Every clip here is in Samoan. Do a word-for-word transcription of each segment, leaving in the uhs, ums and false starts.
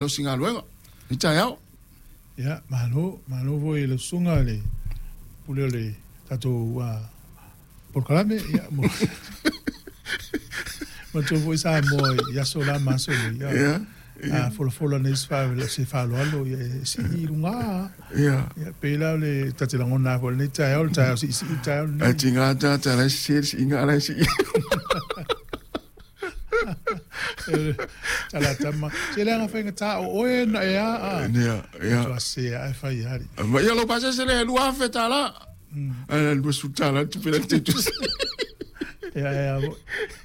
Malosi i taeao. Ia, malo, malo foi i le susuga i le pule o le tatou uh, polokalame. Ia, mo matou foi Samoa i aso la ma aso nei. Ia, Ia, a folafola nei se fa- se faaaloalo, ia e sii i luga. Ia. Ia, pei la o le ta te lagona foi lenei taeao, le taeao siisii le taeao Ae lenei. Tiga tata la se se inga la se. Talatama. Se leaga faigata o oe na e a a. Ia, ia. Tua se a e fai ali. Ma ia lo pasa se le lua afe tala. Ala lua su tala tu pela te tu. Ia, ia,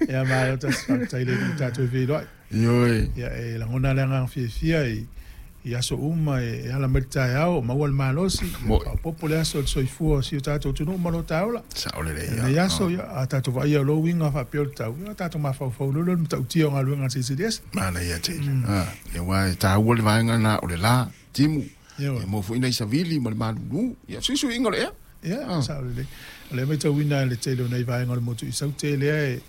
ia, malo tasi faafetai le tatou feiloai. Ioe. Ia e lagona le agaga fiafia i i aso uma e, e ala mai le taeao o maua le malosi. Moi. Faaopoopo le aso o le soifua o si o tatou atunuu ma lo taola. Sao le le. Nei aso ia a tatou vaaia o lou uiga faapea o le tau. Ia tatou mafaufau lolo le matautia o galuega a le Silisili Ese. Mana ia te. Ah, ia wa ta ua le vaenga na o le la timu. Ia Ia mo foi nei savili ma le malulu. Ia susu inga le. Ia, sao lelei. O lea matauina le tele o nei vaega o le motu i Saute lea e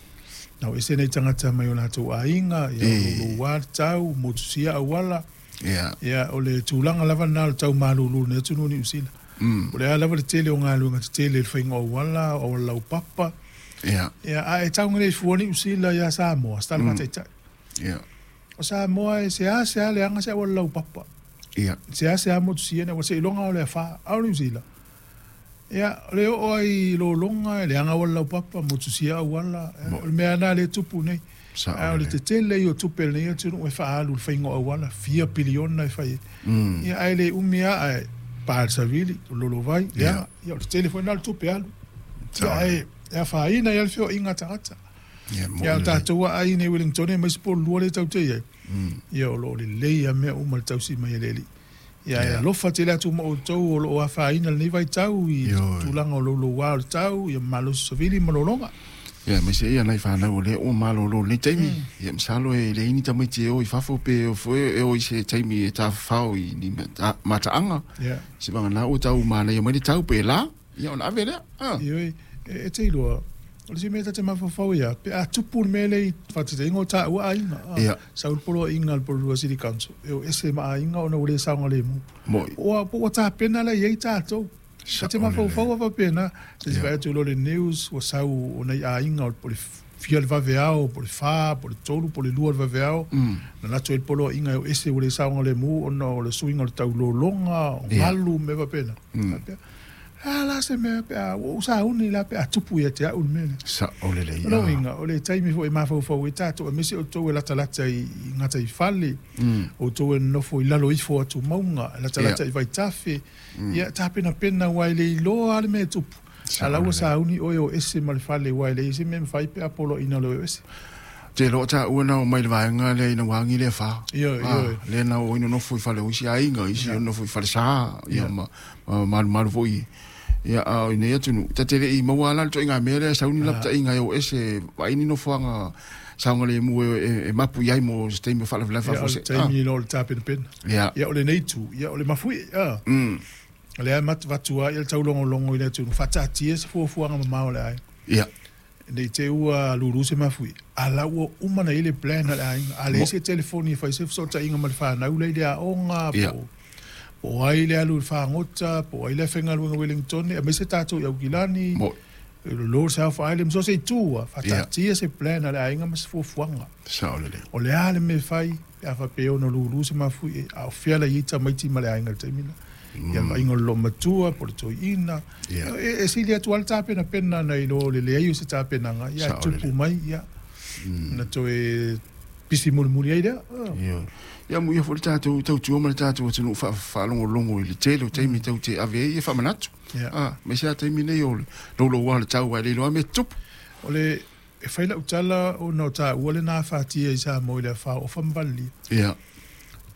nau ese nei tagata mai o latou aiga, ia E. o louloua le tau, motusia auala. Ia. Ia, o le tulaga lava lena o le tau malūlū i lenei atunuu o Niu Sila. Mm. O le a lava le tele o galuega tetele i le faiga o auala, o auala laupapa. Ia. Ia, a e taugalefua Niu Sila iā Samoa, se tala faataitai. Ia. O Samoa e se a se a leaga se auala laupapa. Ia. Se a se a motusia ne, ua seiloga o le afā, a o Niu Sila. Ia, o le oo ai i lologa, e leaga auala laupapa, motusia auala, Mo- o le mea lena lea e tupu nei. Sao A o le lelei. tetele ia o tupe a lenei atunuu e faaalu i le faiga o auala, fia piliona e fai ai. Mm. Ia, ae le umi lava, ae pa le savili, o lolovai, leaga. Ia. Ia, o le tetele foi lena o le tupe alu. Sao Ia, ae e afaina ai lava le feoaiga a tagata. Ia mo. Ia, o tatou aai nei Wellington aemaise po o le lua lea tatou te i ai. Ia, o lo o lelei lava mea uma i le tausi mai e le alii. Ia, e Ia. alofa tele atu ma outou o lo o afaina lenei vaitau i Ioe. tulaga o louloua o le tau, ia malosi savili ma lologa. Ia mai se ia nai whanau o le o malolo nei taimi. Ia masalo e le ini tamaiti e o i fafo pe o foe e o i se taimi e tawhao i ni mata- mataanga. Ia. Se vanga nā o tau mānei mai le tau pe la. Ia ona ave lea. Ah. Ioe, e, e te iloa, o le isi mea ta te mafaufau ia, pe a tupu le mea lea i faataitaiga o taua aiga. Ah, Ia. Sau le poloaiga a le Porirua City Council, e o ese ma aiga ona ua le saogalemu. Moi. Po ua, po ua tapena la i ai tatou. Ta te Sao mafaufau a faapena, te Ia. vaai atu loa le news, ua sau o nai aiga o po o le fia le vaveao, po o le fa, po o le tolu, po o le lua le vaveao. Mm. Na latou ai le poloaiga e o ese ua le saogalemu ona o le suiga o le taulologa, o Ia. galu, mea faapena. Faapea, a la se mea pe a ua ou sauni la pe a tupu ia te au le mea lea. Sao lelei. O lou uiga, o le taimi foi e mafaufau ai tatou, aemaise outou e latalata i, i gataifale, Mm. outou e nonofo i lalo ifo o atumauga, e latalata Ia. i vaitafe, ia tapenapena ua e le iloa lava le mea e tupu. Sao A la ua lelei. sauni oe o ese ma le fale ua e leai se mea e mafai pe a poloaiina loa e o ese. Te loa tā ua nao mai le vaenga lea ina wangi lea wha. Ioe, Ah, ioe. Lea nao o ina nofo i whale o isi ainga, isi o nofo i whale sā, ia Ia. ma, ma malu malu foi. Ia, a o ina ia tunu. Ta te le i maua ala le toi ngā mea lea, sauni lap ta inga e o ese, wa ini nofoanga saunga le mu e, e, e mapu iai mo se teimi o whala whala Ia, o wha le se. taimi loa o le tapenapena. Ia. Ia, o lenei itu, ia, o le mafuie, a. Mm. O lea e matuvatua ai le taulogologo i le atunuu, faataatia se fuafuaga mamao a le aiga. Ia. Nei te ua lulu se mafui. A la ua uma na i le plan a le aiga. A le Mo- se telefoni e fai se fesootaiga ma le whanau lea i le aoga, Ia. po, po ai le alu i le fagota, po ai le faigaluega Wellington, aemaise tatou i Aukilani, Mo. lolo South Island, so se itu a, faataatia se plan a le aiga ma se fuafuaga. Sao lelei. O le a le mea fai, pe a faapea ona lulu se mafui, a o fea la i ai tamaiti ma le aiga i le taimi lena. Ia le vaaiga o le loomatua, po o le toeaina. Ia. E, e sili atu lava le tapenapena nai lo le leai o se tapenaga, ia Sao tupu lelei. mai, ia. Na toe pisi mulimuli ai lea. Ah. Ia. Ia mu ia foi le tātou tautua ma le tātou atunuu wha whaalongolongo i le tele o taimi tau te ave ai e whamanatu. Ia. Ah, me se a taimi nei o le lolo wa le tau ai le loa me tupu. O le e fai lau tala ona o taua lena afatia i Samoa i le afā o Famavalilia. Ia.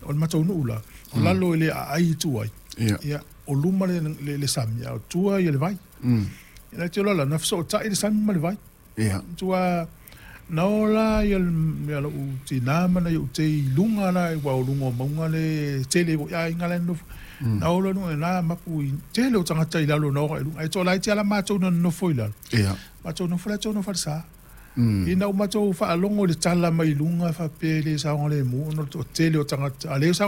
O le mataunuu la, o lalo i le aai i tua ai. Ia. Ia, o luma le, le, le sami, a o tua ia le vai. Mm. Ia na te ola la, na fesootai le sami ma le vai. Ia. Tua na ola ia le- ia lou tinā ma nai ou te i luga la ua o luga o mauga le tele foi aiga la e nonofo. Na ola luga na mapu i tele o tagata i lalo na ora i luga. Ae toalaiti lava matou na nonofo i lalo. Ia. Matou nofo la tou nofo le sa. Mm. Ina ua matou faalogo i le tala mai luga faapea e le saogalemu ona o le toatele o tagata. A lea